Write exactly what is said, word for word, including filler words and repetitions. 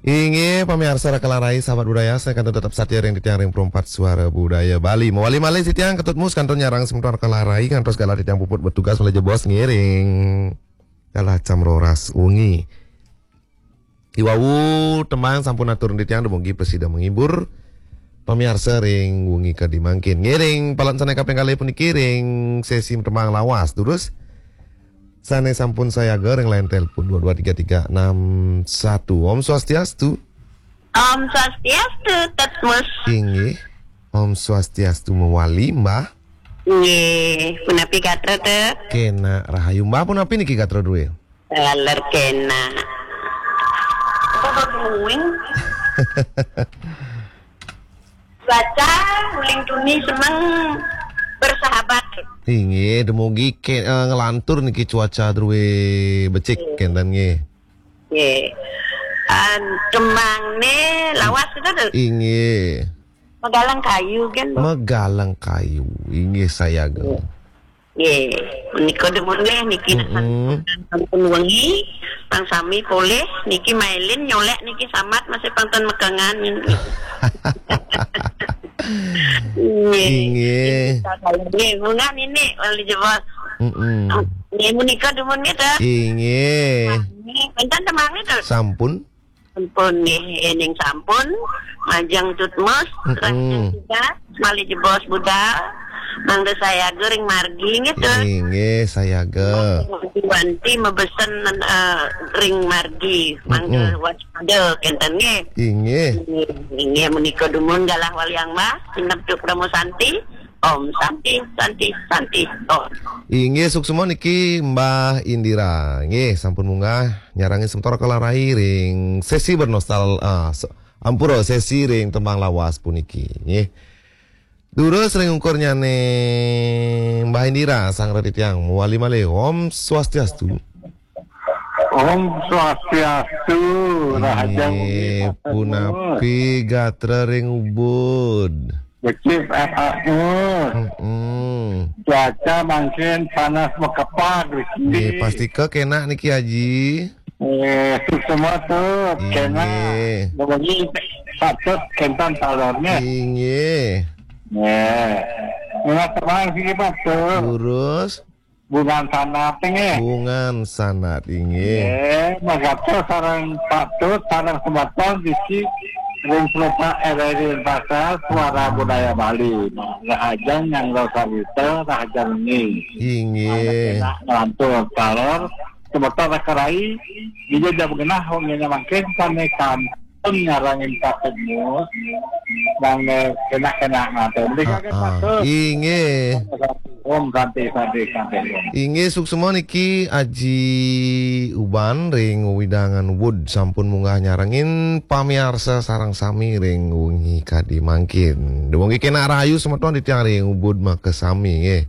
Inggih, pamiarsa Raka Larai, sahabat budaya, sané kantun tetep satia ring titiang ring Pro empat Suara Budaya Bali. Mawali malih titiang Ketut Mus kantun nyarengin semeton Raka Larai, ngantos galah titiang puput bertugas malih jebos ngiring galah jam roras wengi. Iwau tembang sampun atur titiang dumugi prasida menghibur pamiarsa ring wengi kadi mangkin. Ngiring palan sané kaping kalih puniki ring sesi tembang lawas. Terus sané sampun sayaga ring line telepon dua dua tiga tiga enam satu. Om Swastiastu. Om Swastiastu, Tetmus. Inggih. Om Swastiastu mawali, Mbah. Nggih, punapi gatra, Tet? Kénak rahayu, Mbah, punapi niki gatra drué? Taler kénak. Apa bau nguing? Cuaca uling tuni semeng bersahabat. Inggih, dumugi ké, eh, nglantur niki cuaca drué becik kénten nggih. Nggih. Ah, tembangné lawas kita tuh. Inggih. Magalang kayu kan, Bu? Magalang kayu. Inggih sayaga. Nggih. Nggih, menika dumun nggih niki. Mm-mm. Sampun wengi, pang sami polih niki mailin nyolek niki samat masih pantun mekengan. Nggih. Inggih. Nggih, munggah nini wali jebos. Mm-mm. Nggih, menika dumun nggih, Tet. Inggih. Nggih, enten tembangnya, Tet. Sampun. Sampun nggih, éning sampun, majeng tutmus, mm-mm, lanjut juga, malih jebos budal, mangda sayaga ring margi nggih, Tet. Inggih, sayaga. Wanti-wanti mabesen, eh, ring margi, mangda, mm-mm, waspada kénten nggih. Inggih. Inggih, inggih, menika dumun galah waliang Mbah, sineb tuk Parama Santi. Om Santi, Santi, Santi, Om. Inggih, suksma niki Mbah Indira. Nggih, sampun munggah nyarengin semeton Raka Larai ring sesi bernostal-, ah, se-, ampura, sesi ring tembang lawas puniki. Nggih. Durus ring ungkurnyané Mbah Indira, sareng titiang mawali malih. Om Swastiastu. Om Swastiastu, rahajeng wengi, inggih, Pak Gubernur. Punapi gatra ring Ubud? Becik, eh, Pak Gubernur. Mm-mm. Cuaca mangkin panas makepag di sini. Nggih, pastika kénak niki, Aji. Eh, suksma tuh, kénak. Inggih. Wengi patut kénten talonnya. Inggih. Nggih. Nggih, tenang sih, Pak, tuh. Durus. Bungan Sanat nggih. Bungan Sanat inggih. Nggih, magatra sareng patut sareng semeton siki ring Selopak R R I Denpasar, Suara Budaya Bali. Nah, rahajeng nyanggra sarita, rahajeng wengi. Inggih. Mangda kénak nglantur taler, semeton Raka Larai, dija jam genah wengine mangkin sané kan pun nyarengin Pak Gubernur, nang, eh, kénak-kénak ngatur. Mrika, ah, ah, Pak Gubernur. Inggih. Om Santi, Santi, Santi, Om. Inggih, suksma niki Aji Uban ring wewidangan Ubud sampun munggah nyarengin pamiarsa sareng sami ring wengi kadi mangkin. Dumugi kénak rahayu semeton titiang ring Ubud makasami nggih.